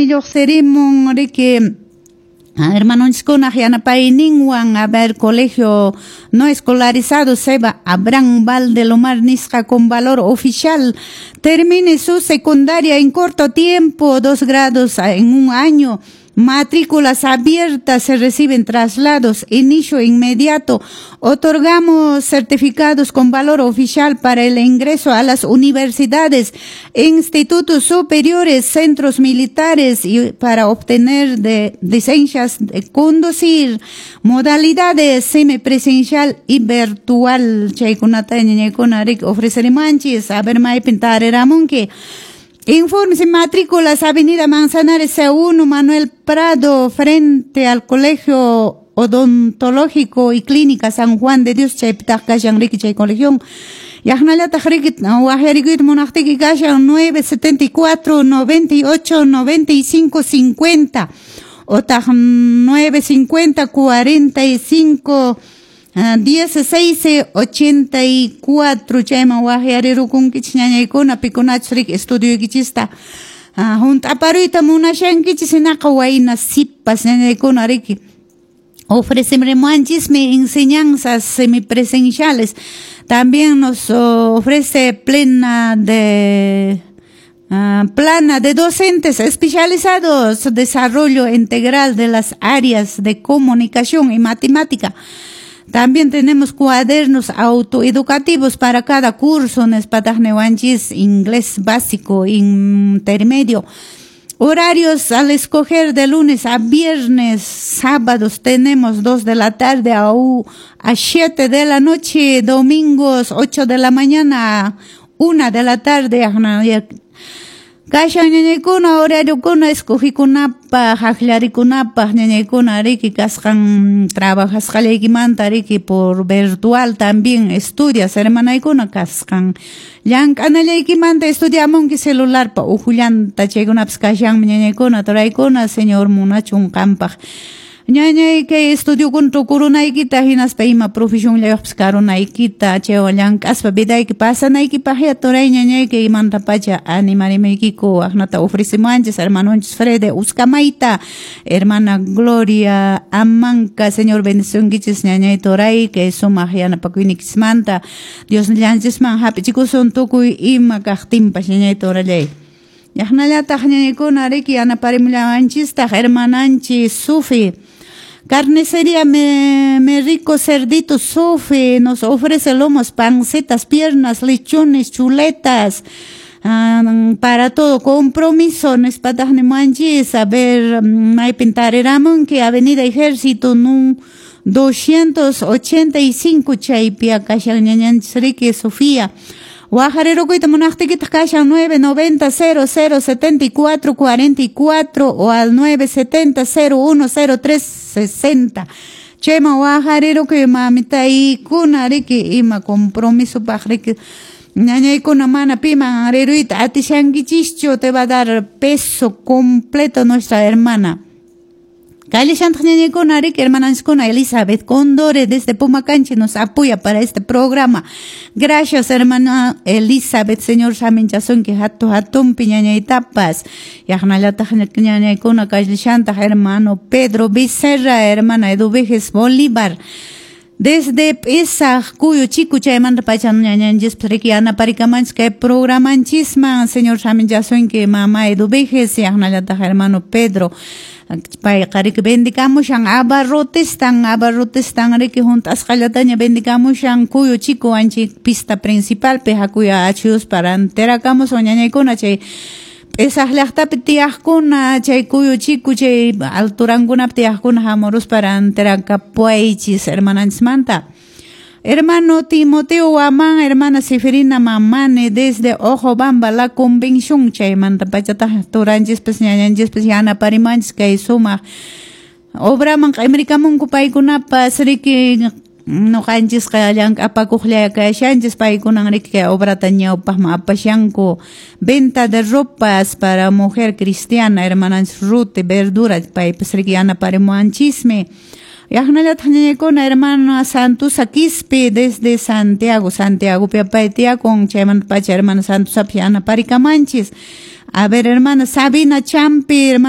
Chismi lluqsirimun riki hermanonchikkunaq yanapayninwan. A ver, colegio no escolarizado Seba Abraham Valdelomar nisqa con valor oficial. Termine su secundaria en corto tiempo, 2 grados en un año. Matrículas abiertas, se reciben traslados, inicio inmediato. Otorgamos certificados con valor oficial para el ingreso a las universidades, institutos superiores, centros militares y para obtener de licencias de conducir. Modalidades semipresencial y virtual. Chaykunata ñañaykuna riki ofrecerimanchis. A ver, maypin tariramunki. Informes y matrículas, Avenida Manzanares C1, Manuel Prado, frente al Colegio Odontológico y Clínica San Juan de Dios, chaypitaq kashan riki chay colegio. Yaqnallataq riki waqyarikuyta munaqtiki kashan 974 98 95 50 otaq 950 45 16 84. Chayman waqyarirukunkichis ñañaykuna pikunachus riki estudioykichista hunt'aparuyta munashankichis, hinaqa wayna sipas ñañaykuna riki ofrecemos enseñanzas semipresenciales. También nos ofrece plena de plana de docentes especializados, desarrollo integral de las áreas de comunicación y matemática. También tenemos cuadernos autoeducativos para cada curso, nispataq niwanchis, inglés básico, intermedio. Horarios al escoger de lunes a viernes, sábados tenemos 2 de la tarde a 7 de la noche, domingos 8 de la mañana a 1 de la tarde. Kashan ñañaykuna horariokuna escogikunapaq, akllarikunapaq ñañaykuna riki kasqan trabajasqallaykimanta riki por virtual también estudias, hermanaykuna, kasqan llank'anallaykimanta estudiamunki celularpa uhullanta, chaykunapas kashanmi ñañaykuna, turaykuna. Señor munachun qampaq ñañay kay estudiokuna tukurunaykita, hinaspa ima profesionllayuqpas karunaykita, chaywan llank'aspa vidayki pasanaykipaqya turay ñañay kaymantapacha animarimaykiku. Aqnata ofrecemuanchis hermanonchis Frede Uscamayta, hermana Gloria Amanca. Señor bendicionkichis ñañay turay kay sumaq yanapakuynikichismanta. Dios llanchisman hap'ichikusun tukuy ima kaqtinpas ñañay turallay. Yaqnallataq ñañaykuna riki yanaparimullawanchistaq hermananchis Sufi. Carnicería Me Rico Cerdito Sofi nos ofrece lomos, pancetas, piernas, lechones, chuletas, para todo compromiso, nispataq niwanchis. A ver, maypin tariramunki: Avenida Ejército nun 285, chaypi kashan ñañanchis riki Sofía. Waqharirukuyta munaqtiykitaq kashan 990 00 74 44 o al 970 01 03 60. Chayman waqharirukuy mamitaykuna riki ima compromisopaq riki ñañaykuna mana piman riruyta atishankichischu, te va a dar peso completo nuestra hermana. Kallishantaq ñañaykuna riki hermananchiskuna Elizabeth Condore desde Pumacanchi nos apoya para este programa. Gracias, hermana Elizabeth, Señor saminchasunki hatu hatunpi ñañaytapas. Yaqnallataq ñañaykuna kallishantaq hermano Pedro Becerra, hermana Eduviges Bolívar. Desde Pesaj, Cuyo Chico, chaymanta pacha ñañanchispas riki yanaparikamanchis kay programanchisman. Señor saminchasunki mama Eduviges, yaqnallataq hermano Pedro. Payqa riki vendikamushan abarrotestan, abarrotestan riki hunt'asqallataña vendikamushan Cuyo Chico anchi pista principalpi hakuya achuyuspa rantirakamusun ñañaykuna chay P'isaq llaqtapi tiyaqkuna, chay Cuyo Chico chay alturankunapi tiyaqkuna hamuruspa rantirakapuwaychis hermananchismanta. Hermano Timoteo Guamán, hermana Seferina Mamane desde Ojobamba, La Convención, chaymanta pachataq turanchispas ñañanchispas yanaparimanchis kay sumaq obraman q'imirikamunku paykunapas riki ñuqanchisqa llank'apakuqlla kashanchis, paykunan riki kay obrata ñawpaqman apashanku. Venta de ropas para mujer cristiana, hermananchis Ruth Verdura, paypas riki yanaparimuwanchismi. Yaqnallataq ñañaykuna hermana Santusa Quispe desde Santiago, Santiagopi pay tiyakun, chaymanta pacha hermana Santusapas yanaparikamanchis. A ver, hermana Sabina Champi, hermana